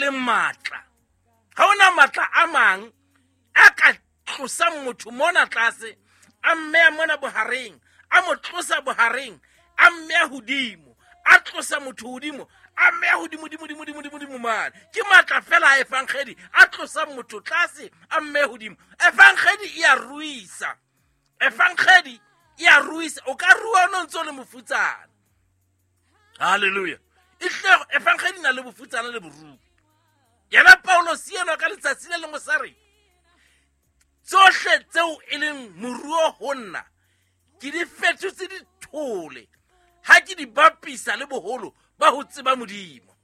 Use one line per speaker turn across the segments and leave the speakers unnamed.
leng matla. Ha hona matla a mang a ka tlosang motho mona tlase, a mmeya mona bohareng, a mo tlosa bohareng, a mmeya hodimo, a tlosa motho hodimo, a mmeya hodimo, dimo, dimo, dimo, dimo, dimo mane. Ke matla fela a efankgedi a tlosang motho tlase, a mmeya hodimo. Efankgedi e a ruisa. Efankgedi e a ruisa. O ka rua o no ntse o le mofutsana. Halleluja. Ehlile efankgedi e na le bofutsana le boruo. Yena Paulos enwa ka letsatsi le lengwe sa re, tsohle tseo e leng moruo ho nna ke di fetotse dithole ha ke di bapisa le boholo ba ho tseba Modimo.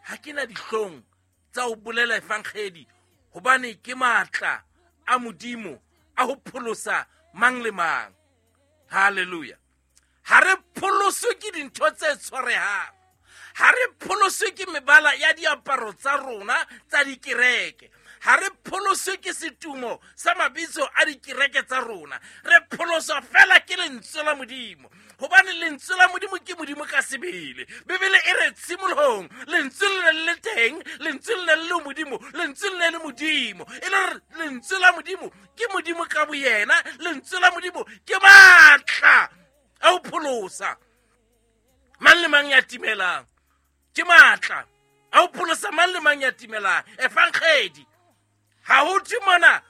Ha ke na dihlong tsa ho bolela efankgedi, hobane ke matla a Modimo a ho pholosa mang le mang. Halleluja. Ha re pholoswe ke dintho tse tshwarehang. Ha re pholoswe ke mebala ya diaparo tsa rona tsa dikereke. Ha re pholoswe ke setumo sa mabitso a dikereke tsa rona. Re pholoswa fela ke lentswe la Modimo, hobane lentswe la Modimo ke Modimo ka sebele. Bibele e re tshimolohong lentswe le ne le le teng, lentswe le ne le le Modimo, lentswe le ne le Modimo. E le hore lentswe la Modimo ke Modimo ka boyena, lentswe la Modimo ke matla a ho pholosa mang le mang ya timelang. Ke matla a ho pholosa mang le mang ya timelang. Efankgedi ha ho thwe mona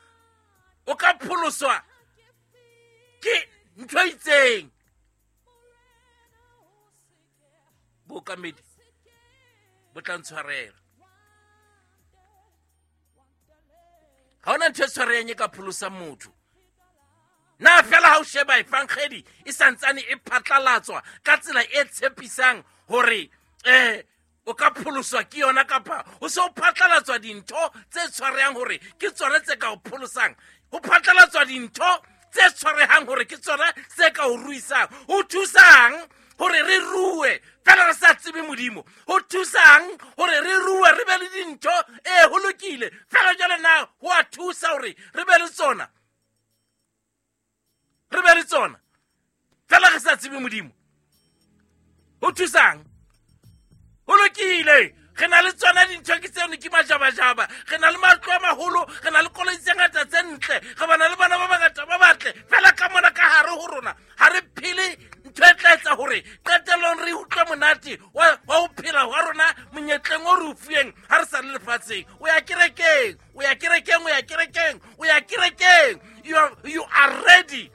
o ka pholoswa ke ntho e itseng. Bookamedi bo tla ntshwarela. Ha hona ntho e tshwarehang e ka pholosang motho. Na fela ha o sheba efankgedi e santsane e phatlalatswa ka tsela e tshepisang hore o ka pholoswa ke yona, kapa ho se ho phatlalatswa dintho tse tshwarehang hore ke tsona tse ka o pholosang. Ho phatlalatswa dintho tse tshwarehang hore ke tsona tse ka o ruisang. Ho thusang hore re rue fela re sa tsebe Modimo? Ho thusang hore re rue re be le dintho? Ho lokile fela jwale na ho a thusa hore re be le tsona? Re be le tsona fela re sa tsebe Modimo? Ho thusang? Ho lokile, re na le tsona dintho ke tseno, ke majabajaba, re na le matlo a maholo, re na le koloi tse ngata tse ntle, re bana le bana ba bangata ba batle, fela ka mona ka hare ho rona ha re phele ntho e tla etsa hore qetellong re utlwe monate wa ho phela hwa rona monyetleng o re o fuweng ha re sa le lefatsheng. O ya kerekeng, o ya kerekeng, o ya kerekeng, o ya kerekeng. You are ready.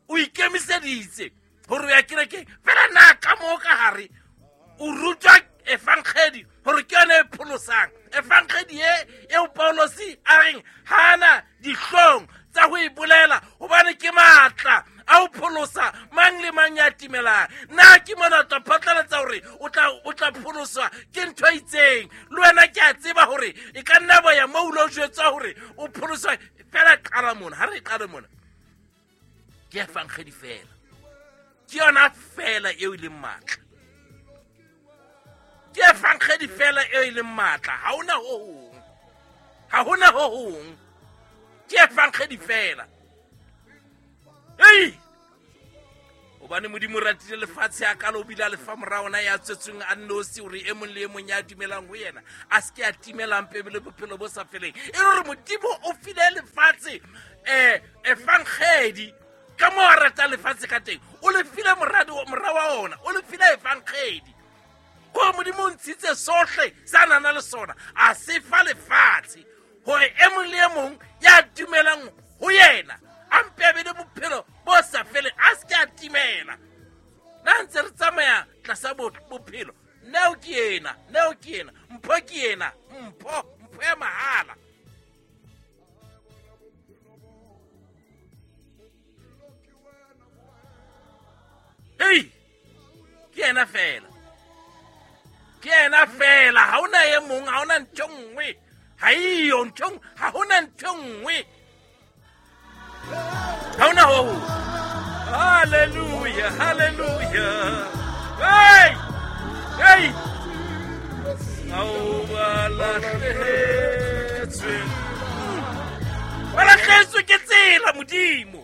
O ikemiseditse hore o ya kerekeng. Fela na ka moo ka hare o rutwa efankgedi hore ke yona e pholosang. Efankgedi e eo Paulosi a reng hana dihlong tsa ho e bolela, hobane ke matla a ho pholosa mang le mang ya timelang. Na ke mona o tla phatlalatsa hore o tla pholoswa ke ntho e itseng? Le wena ke a tseba hore e ka nna ba ya moo o lo jwetswa hore o pholoswa. Fela qala mona, ha re qale mona, ke efankgedi fela, ke yona fela eo e leng matla. Ke efankgedi fela eo e leng matla. Ha hona ho hong, ha hona ho hong, ke efankgedi fela. Ei! Hobane Modimo o ratile lefatshe a kalo, o bile a lefa mora ona ya tswetsweng a nnosi, hore e mong le e mong ya dumelang ho yena a se ke a timela, mpe be le bophelo bo sa feleng. E le hore Modimo o file lefatshe efankgedi ka moo a ratang lefatshe ka teng, o le file mora wa ona, o le file efankgedi. Ko Modimo o ntshitse sohle sa nana le sona, a se fa lefatshe hore e mong le e mong ya dumelang ho yena a mpe a be le bophelo bo sa feleng, a se ke a timela. Na ntse re tsamaya tlasa bophelo, neo ke ena, neo ke ena, mpho ke ena, mpho, mpho ya mahala. Ei, ke ena fela, ke ena fela, ha hona e mong, ha hona ntho e nngwe, ha eyo ntho e nngwe, ha hona ntho e nngwe, ha hona ho hong. Hallelujah, hallelujah. Hey, hey. Ao ba lahlehetswe. Ba lahlehetswe ke tsela Modimo.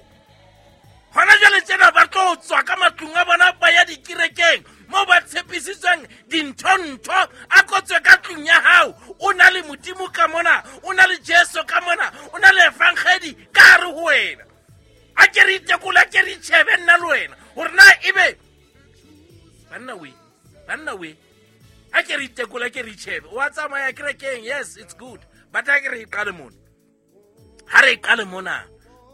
Hona jwale tjena ba tlo tswa ka matlung a bona ba ya dikerekeng moo ba tshepisitsweng dintho-ntho, a kotswe ka tlung ya we. Ha ke re itekola, ke re itjhebe. Wa tsamaya kerekeng, yes, it's good. But ha ke re iqale mona. Ha re iqale mona.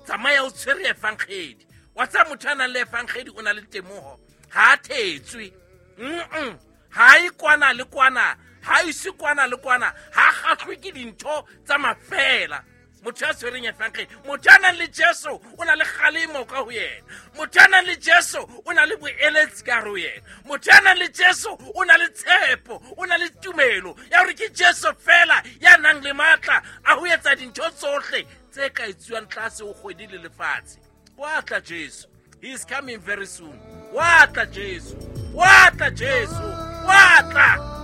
Tsamaya o tshwere efankgedi. Wa tseba motho a nang le efankgedi o na le temoho. Ha a thetswe. Ha e kwana le kwana, ha ise kwana le kwana, ha kgahlwe ke dintho tsa mafela. Motho ya tshwereng efankgedi, motho ya nang le Jesu o na le kgalemo ka ho yena. Motho ya nang le Jesu o na le boeletsi ka hare ho yena. Motho ya nang le Jesu o na le tshepo, o na le tumelo ya hore ke Jesu fela ya nang le matla a ho etsa dintho tsohle tse ka etsuwang tlase ho kgwedi le lefatshe. Wa tla Jesu. He is coming very soon. Wa tla Jesu. Wa tla Jesu. Wa tla.